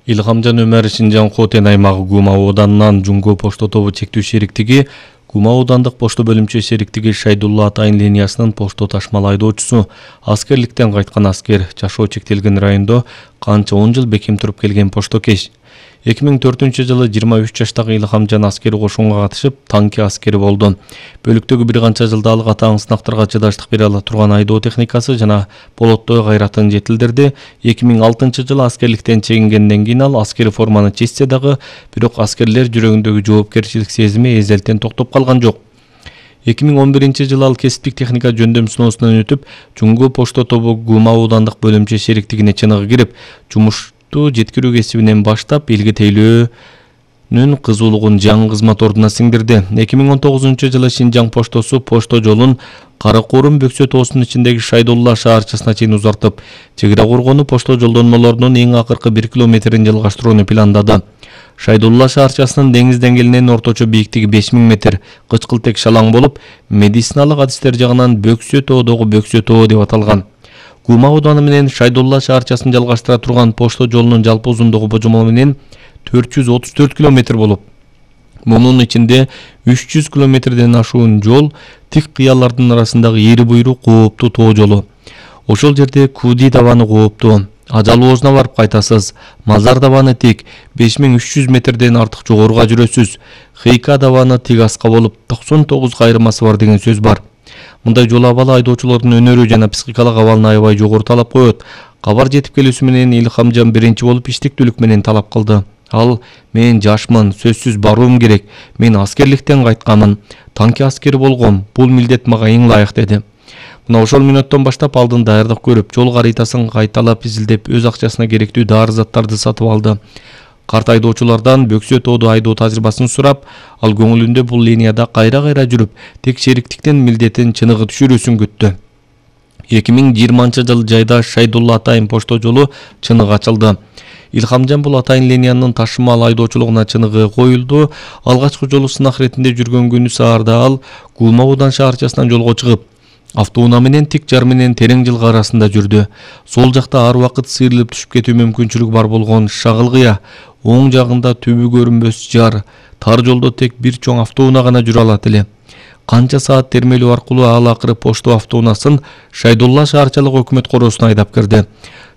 Илхамжан Өмер Шинжаң Хотен аймагы Гума ауданынан Жуңго пошто тобу чектүү шериктиги Гума аудандык пошто бөлүмчө шериктиги Шайдулла Атайын линиясынын пошто ташмал айдоочусу аскерликтен кайткан аскер жашоо чектелген райондо канча 10 жыл бекем туруп келген поштокеш. 2004-жылы 23 жаштагы Илхамжан аскери кошунга катышып, танки аскери болду. Бөлүктөгү бир канча жылда ал катаң сынактарга чыдаштык бере ала турган айдоо техникасы жана болоттой кайратын жетилдирди. 2006-жылы аскерликтен чегингенден кийин ал аскери форманы чечсе дагы, бирок аскерлер жүрөгүндөгү жоопкерчилик сезими эзелтен токтоп калган жок. 2011-жылы ал кесиптик техника жөндөм сыноосунан өтүп, Жуңго пошто тобу Гума аудандык бөлүмчө шериктигине чыныгы кирип, жумушту жеткирүү кесибинен баштап элге тейлөөнүн кызуулугун жаңы кызмат ордуна сиңдирди. 2019-жылы Шинжаң поштосу пошто жолун Каракорум Бөксө тоосунун ичиндеги Шайдулла шаарчасына чейин узартып, чек ара коргонуу пошто жолдонмолорунун эң акыркы 1 километрин жалгаштырууну пландады. Шайдулла шаарчасынын деңиз деңгээлинен орточо бийиктиги 5000 метр, кычкылтек шалаң болуп, медициналык адистер жагынан Бөксө тоодогу Бөксө тоо деп аталган. Гума ауданы менен Шайдулла шаарчасын жалгаштыра турган пошто жолунун жалпы узундугу божомол менен 434 километр болуп, мунун ичинде 300 километрден ашуун жол тик кыялардын арасындагы эри буйру кооптуу тоо жолу. Ошол жерде Куди табаны кооптуу, ажал оозуна барып кайтасыз. Мазар табаны тик 5300 метрден артык жогоруга жүрөсүз. Хейка табаны тик аска болуп 99 кайрымасы бар деген сөз бар. Мындай жол абалы айдоочулордун өнөрү жана психикалык абалына аябай жогору талап коет. Кабар жетип келүүсү менен Илхамжан биринчи болуп иштиктүүлүк менен талап кылды. Ал: "Мен жашмын, сөзсүз баруум керек. Мен аскерликтен кайтканмын. Танки аскери болгом. Бул милдет мага эң ылайык" деди. Мына ошол мүнөттөн баштап алдын даярдык көрүп, жол каритасын кайталап изилдеп, өз акчасына керектүү дары заттарды сатып алды. Карт айдоочулардан Бөксө тоодо айдоо тажрыйбасын сурап, ал көңүлүндө бул линияда кайра-кайра жүрүп, тек шериктиктин милдетин чыныгы түшүрүүсүн күттү. 2020-жылы жайда Шайдулла Атайын пошто жолу чыныгы ачылды. Илхамжан бул Атайын линиянын ташымал айдоочулугуна чыныгы коюлду. Алгачкы жолу сынак иретинде жүргөн күнү саарда ал Гума аудан шаарчасынан жолго чыгып, автоунаа менен тик жар менен терең жылга арасында жүрдү. Сол жакта ар убакыт сыйрылып түшүп кетүү мүмкүнчүлүгү бар болгон шагыл кыя, оң жагында түбү көрүнбөс жар, тар жолдо тек бир чоң автоунаа гана жүрө алат эле. Канча саат термелөө аркылуу ал акыры пошто автоунаасын Шайдулла шаарчалык өкмөт короосуна айдап кирди.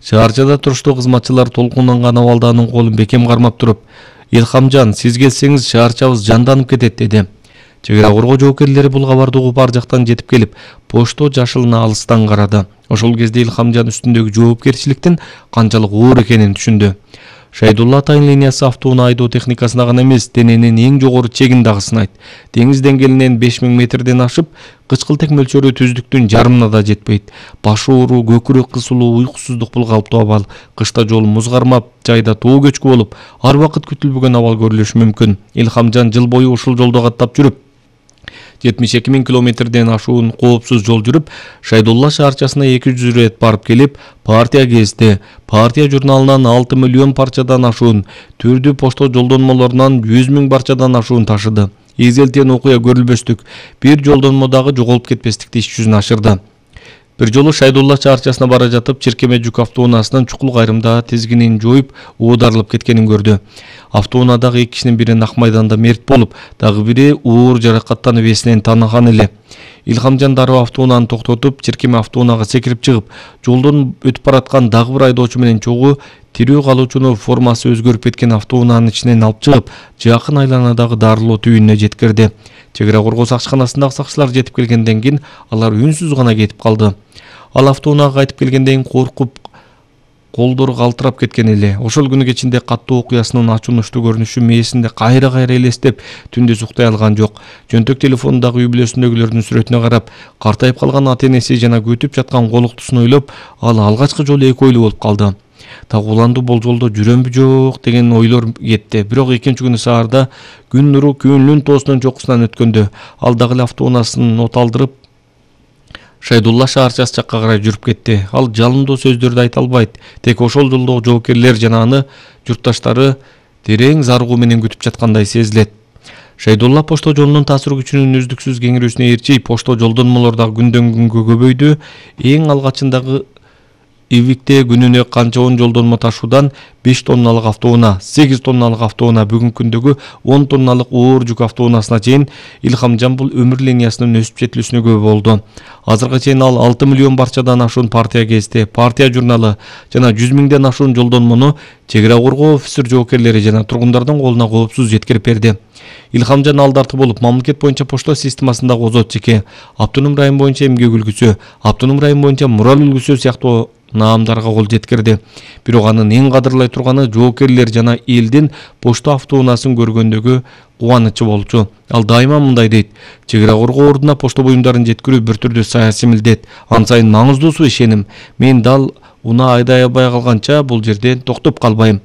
Шаарчада туруштуу кызматчылар толкунанган абалда анын колун бекем кармап туруп: "Илхамжан, сиз келсеңиз шаарчабыз жанданып кетет" деди. Чек ара коргоо жоокерлери бул кабарды угуп ар жактан жетип келип, пошто жашылына алыстан карады. Ошол кезде Илхамжан үстүндөгү жоопкерчиликтин канчалык оор экенин түшүндү. Шайдулла Атайын линиясы автоунаа айдоо техникасына гана эмес, дененин эң жогору чегин дагы сынайт. Деңиз деңгээлинен 5000 метрден ашып, кычкылтек мөлчөрү түздүктүн жарымына да жетпейт. Баш оору, көкүрөк кысылуу, уйкусуздук бул калыптуу абал. Кышта жол муз кармап, жайда тоо көчкү болуп, ар убакыт күтүлбөгөн абал көрүлүшү мүмкүн. Илхамжан жыл бою ушул жолдо каттап жүрүп, 72 000 километрден ашуун коопсуз жол жүрүп, Шайдулла шаарчасына 200 рет барып келип, партия кезди. Партия журналынан 6 миллион парчадан ашуун, түрдүү пошто жолдонмолорунан 100 000 парчадан ашуун ташыды. Эзелтен окуя көрүлбөстүк, бир жолдонмо дагы жоголуп кетпестикти иш жүзүнө ашырды. Бир жолу Шайдулла шаарчасына бара жатып, Чиркеме жүк автоунаасынын чукул кайрымда тизгинин жоюп, оодарылып кеткенин көрдү. Автоунаадагы 2 кишинин бири нак майданда мерт болуп, дагы бири оор жаракаттанып эсинен таныган эле. Илхамжан дароо автоунааны токтотуп, Чиркеме автоунаага секирип чыгып, жолдон өтүп бараткан дагы бир айдоочу менен чогуу тирүү калуучуну формасы өзгөрүп кеткен автоунаанын ичинен алып чыгып, жакын айланадагы дарылоо түйүнүнө жеткирди. Чек ара коргоо сакчыканасындагы сакчылар жетип келгенден кийин алар үнсүз гана кетип калды. Ал автоунаага кайтып келгенден кийин коркуп, колдору калтырап кеткен эле. Ошол күнү кечинде каттуу окуясынын ачуунучтуу көрүнүшү мээсинде кайра-кайра элестеп, түндүз уктай алган жок. Жөнтөк телефонундагы үй бүлөсүндөгүлөрдүн сүрөтүнө карап, картайып калган ата-энеси жана күтүп жаткан колуктусун ойлоп, ал алгачкы жолу эки ойлуу болуп калды. Так уланду болжолдо жүрөмбү жок деген ойлор кетти. Бирок экинчи күнү саарда күн нуру Күнлүн тоосунун чокусунан өткөндө, ал дагы эле автоунаасын от алдырып, Шайдулла шаарчасы жакка карай жүрүп кетти. Ал жалындуу сөздөрдү айта албайт. Тек ошол жолдогу жоокерлер жана аны журтташтары терең зарыгуу менен күтүп жаткандай сезилет. Шайдулла пошто жолунун таасир күчүнүн үздүксүз кеңирүүсүнө ээрчи пошто жолдонмолор дагы күндөн күнгө көбөйдү. Эң алгачындагы Ивикте күнүнө канча 10 жолдонмо ташуудан 5 тонналык автоунаа, 8 тонналык автоунаа, бүгүнкү күндөгү 10 тонналык оор жүк автоунаасына чейин Илхам Жамбул өмүр линиясынын өсүп жетилүүсүнө күбө болду. Азыркыга чейин ал 6 миллион барчадан ашуун партия гезити, партия журналы жана 100 миңден ашуун жолдонмону чек ара коргоо офицер жоокерлери жана тургундардын колуна коопсуз жеткирип берди. Илхамжан алдарты болуп, мамлекет боюнча почта системасындагы озот чеки, автоном район боюнча эмгек үлгүсү, автоном район боюнча мурал үлгүсү сыяктуу наамдарга кол жеткирди. Бирок анын эң кадырлай турганы жоокерлер жана элдин почта автоунаасын көргөндөгү кубанычы болчу. Ал дайыма мындай дейт: чек ара коргоо ордуна почта буюмдарын жеткирүү бир түрдүү саясий милдет. Ан сайын маңыздуусу ишеним. Мен дал унаа айдай албай калганча бул жерден токтоп калбайм.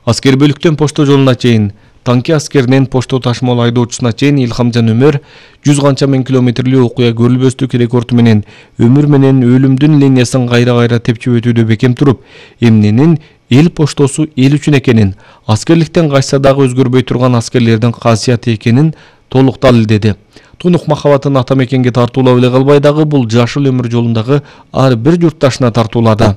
Аскер бөлүктөн почта жолуна чейин, танки аскеринен почта ташымал айдоочусуна чейин Илхамжан Өмөр 100 канча миң километрлүү окуя көрүлбөстүк рекорду менен өмүр менен өлүмдүн линиясын кайра тепчип өтүүдө бекем туруп, эмненин эл поштосу эл үчүн экенин, аскерликтен качса дагы өзгөрбөй турган аскерлердин касыяты экенин толук далилдеди. Тунук махабатын ата мекенге тартуулап эле калбай дагы бул жашыл өмүр жолундагы ар бир журтташына тартуулады.